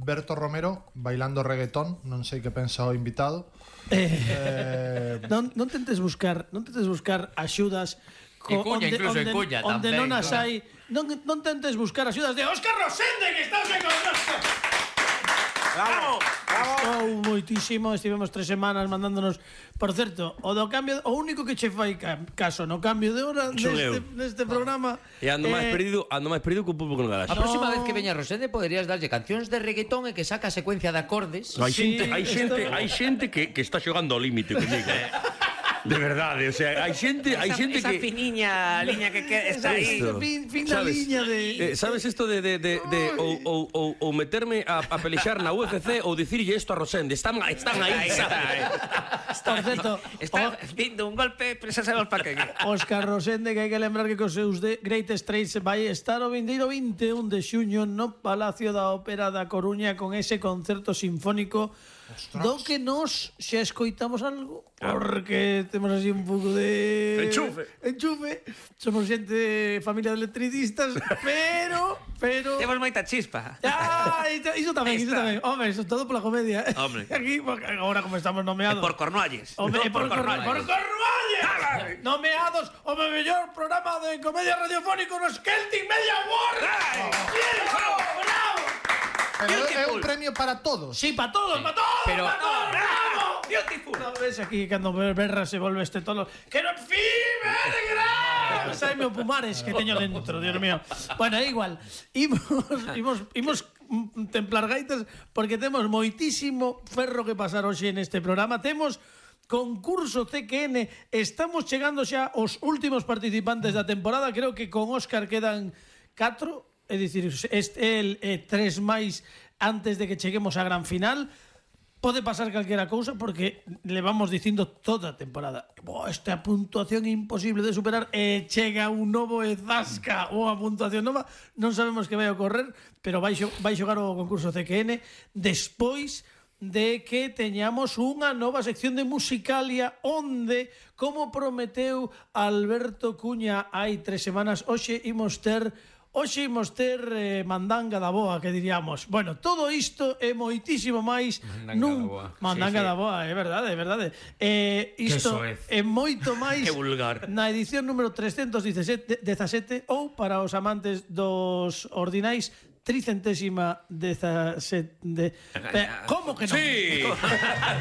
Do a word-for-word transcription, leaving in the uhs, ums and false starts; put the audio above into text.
Berto Romero bailando reggaetón, non sei que pensa o invitado. Eh, eh, non, non tentes buscar, non tentes buscar axudas co, cuña, onde, incluso onde, en cuña onde tamén, non as claro. hai, non, non tentes buscar axudas de Óscar Rosende, que estás de connosco. Bravo, bravo. Estou moitísimo, estivemos tres semanas mandándonos. Por certo, o do cambio, o único que che fai caso no cambio de hora neste, neste programa. E ando máis eh, perdido, ando máis perdido que un pulpo con garaxe. A próxima vez que veña Rosende poderías darlle cancións de reggaetón e que saca a secuencia de acordes. Hai Sí, xente, hai xente, esto- hai xente que, que está xogando ao límite comigo. De verdade, o sea, hai xente, hai xente esa que finiña liña que, que está aí. Esto. Fin, fin da ¿Sabes? liña de... Eh, sabes isto de, de, de, de ou, ou, ou, ou meterme a, a pelexar na U F C ou dicirlle isto a Rosende? Están, están aí, Ahí está, sabes? Por certo, Está vindo un golpe, pero xa sabemos para que. Óscar Rosende, que hai que lembrar que cos seus de Great Straits vai estar o vindeiro vinte e un de xuño no Palacio da Ópera da Coruña con ese concerto sinfónico. Ostras. Do que nos xa escoitamos algo, porque temos así un pouco de... Enchufe. Enchufe. Somos xente, familia de electricistas, pero... pero... Temos moita chispa. Ah, iso, iso tamén, Ahí iso está. tamén. Hombre, eso todo pola comedia. Hombre. Aquí, agora como estamos E nomeados... por Cornualles. Hombre, No, por, por, Cornualles. por Cornualles. Nomeados o mellor programa de comedia radiofónico nos Celtic Media Awards. Bien, bravo, bravo. Pero é un premio para todos. Sí, para todos, para todos, Pero- para todos, bravo. Beautiful. No ves aquí cando Berra se volve este tolo. Que non fibergra. Saime o Pumares que teño dentro, Dios mío. Bueno, é igual. Imos, imos, imos mm, templar gaitas porque temos moitísimo ferro que pasar hoxe neste programa. Temos concurso C Q N. Estamos chegando xa aos últimos participantes da temporada. Creo que con Óscar quedan catro. É dicir, este el eh, tres máis antes de que cheguemos á gran final. Pode pasar calquera cousa porque levamos dicindo toda a temporada Boa, esta puntuación é imposible de superar e chega un novo e zasca ou a puntuación nova, non sabemos que vai ocorrer, pero vai, xo, vai xogar o concurso C Q N despois de que teñamos unha nova sección de Musicalia onde, como prometeu Alberto Cuña hai tres semanas, hoxe imos ter Hoxe imos ter eh, mandanga da boa, que diríamos. Bueno, todo isto é moitísimo máis Mandanga nun... da boa. Mandanga Sí, sí. da boa, é verdade, é verdade. Eh, isto soez. é moito máis Que vulgar. na edición número trescentos dezasete ou para os amantes dos ordinais tricentésima dezasete de... Eh, como que non? Sí.